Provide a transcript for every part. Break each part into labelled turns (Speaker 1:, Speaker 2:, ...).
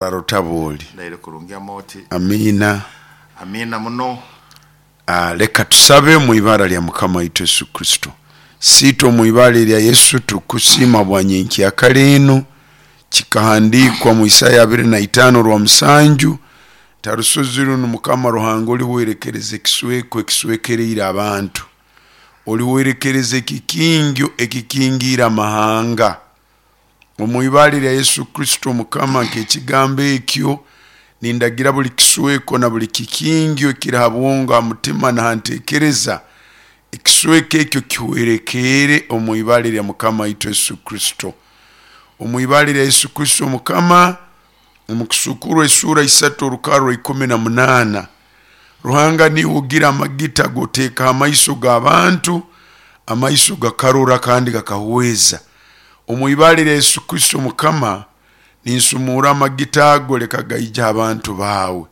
Speaker 1: Rutabuli.
Speaker 2: Ndaire kurungi Amooti.
Speaker 1: Amiina.
Speaker 2: Amiina muno.
Speaker 1: Leka tusabe mu ibara lya Mukama waitu Yesu Kristo. Siitwe omu ibara erya Yesu tukusiima bwa nyenkyakara enu. Kikahandiikwa mu Isaya abiri na itaano orwa musanju nti ha rusozi runu Mukama Ruhanga olihwerekereza ekisweko ekiswekereire abantu, olihwerekereza ekikingyo ekikingiire amahanga. Omu ibara erya Yesu Kristo Mukama, nk'ekigambo ekyo, nindagira buli kisweko na buli kikingyo ekiri ha bwongo, ha mutima, na ha ntekereza, ekisweko ekyo kihwerekeere omu ibara erya Mukama waitu Yesu Kristo. Omu ibara erya Yesu Kristo Mukama, omu Kusuukurwa esuura isatu orukarra rwa 18, Ruhanga niiwe ogira amagita g'oteeka ha maiso g'abantu, amaiso gakarora kandi gakahweza. Omu ibara erya Yesu Kristo Mukama, ninsumuura amagita ago leka gaije ha bantu baawe.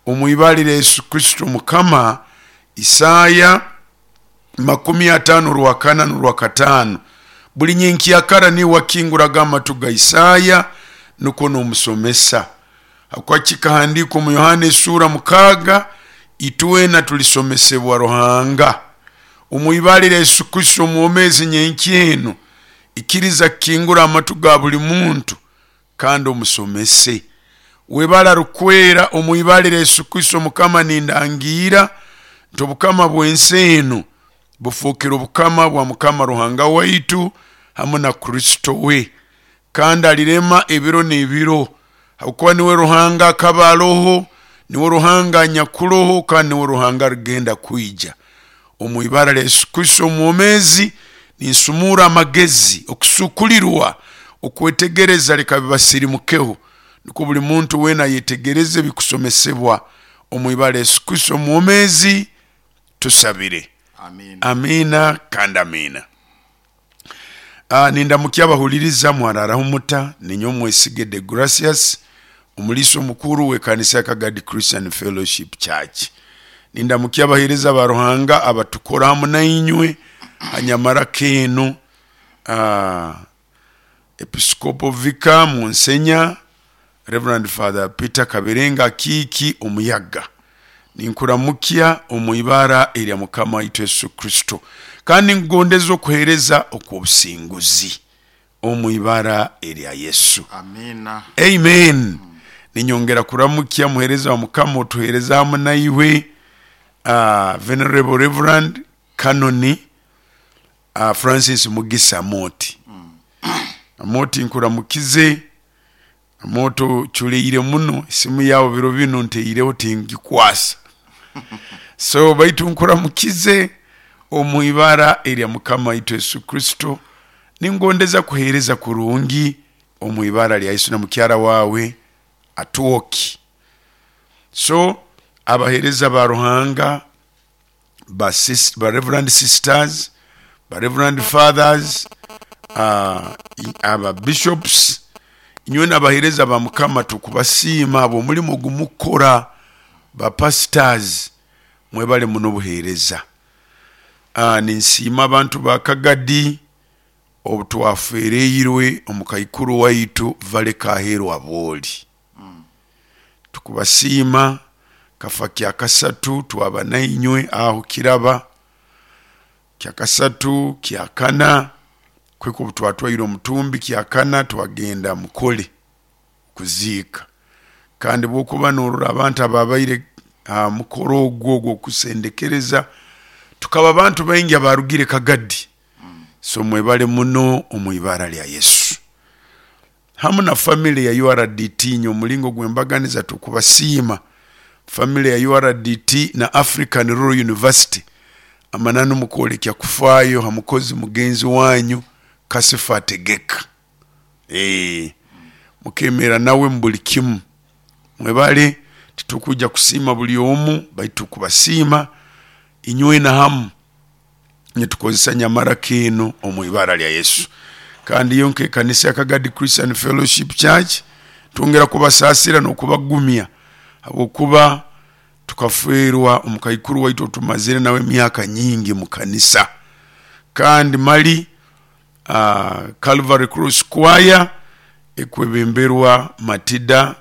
Speaker 1: Omu ibara erya Yesu Kristo Mukama, Isaaya 50 orwakana n'orwakataano, buli nyenkyakara niiwe wakinguraga amatu ga Isaaya nukwo n'omusomesa. Habwokuba kikahandiikwa omu Yohaana esuura mukaaga, Itwena tulisomesebwa Ruhanga. Omu ibara erya Yesu Kristo omwomeezi nyenkya enu, ikiriza kukingura amatu ga buli muntu kandi omusomese. Webale arukwera, omu ibara erya Yesu Kristo Mukama nindangiira nti obukama bw'ensi enu bufookere obukama bwa Mukama Ruhanga waitu hamu na Kristo we, kandi alirema ebiro n'ebiro, habwokuba niwe Ruhanga akaba aloho, niwe Ruhanga anyakuroho, kandi niwe Ruhanga arugenda kwija. Omu ibara lya Yesu Kristo omwomeezi, ninsumuura amagezi, okusukulirwa, okwetegereza leka bibasirimukeho, nukwo buli muntu weena ayetegereze ebikusomesebwa. Omu ibara lya Yesu Kristo omwomeezi, tusabire.
Speaker 2: Amiina.
Speaker 1: Amiina kandi amiina. Nindamukya abahuliriza mwararaho muta? Ninyowe Mwesige Degracius, omuliisa omukuru w'ekanisa ya Kagadi Christian Fellowship Church. Nindamukya abaheereza ba Ruhanga abatukora hamu nainywe ha nyamaraka enu, Episcopal Vicar Munsenya, Rev. Father Peter Kaberenga Akiiki Omuyaga. Ninkuramukya omu ibara erya Mukama waitu Yesu Kristo, kandi ninkugondeza okuheereza okw'obusinguzi omu ibara erya Yesu.
Speaker 2: Amiina.
Speaker 1: Amen. Ninyongera kuramukya muheereza wa Mukama otuheereza hamu naiwe, Venerable Reverend Canon Francis Mugisa Amooti. Amooti nkuramukize. Amooti oculeire muno, esimu yaawe biro binu nteireho tingikwasa. So baitu nkuramukize omu ibara erya Mukama waitu Yesu Kristo, ningondeza kuheereza kurungi omu ibara lya Yesu na mukyara waawe Atwoki. So abaheereza ba Ruhanga ba, sis, ba Reverend Sisters, ba Reverend Fathers, aba Bishops, inywe n'abaheereza ba Mukama tukubasiima ahabw'omurimo ogu mukukora, ba Pastors mwebale muno obuheereza. Ninsiima abantu ba Kagadi obu twafeereirwe omukaikuru waitu Vale Kaheerwa Bwoli. Tukubasiima kafa kyakasatu twaba nainywe aho kiraba kyakasatu kyakana kuhika obu twatwaire omutumbi kyakana twagenda Mukole kuziika. Kandi bwokuba norora abantu ababaire aha mukoro ogwo ogw'okusendekereza tukaba abantu baingi abarugire Kagadi. So mwebale muno omu ibara lya Yesu. Hamu na family ya URDT nyowe omulingo gwembaganiza tukubasiima family ya URDT na African Rural University amananu mukwolekya kufaayo ha mukozi mugenzi wanyu Kasifa Ategeka eeh mukemeera nawe mubuli kimu mwebale titukwija kusiima buli omu baitu tukubasiima inywena hamu. Nitukozesa nyamaraka enu omu ibara lya Yesu. Kandi yo nk'ekanisa ya Kagadi Christian Fellowship Church twongera kubasaasira n'okubagumya habwokuba tukafeerwa omukaikuru waitu otumazire nawe emyaka nyingi mu kanisa. Kandi mali Calvary Cross Choir ekwebemberwa Matida.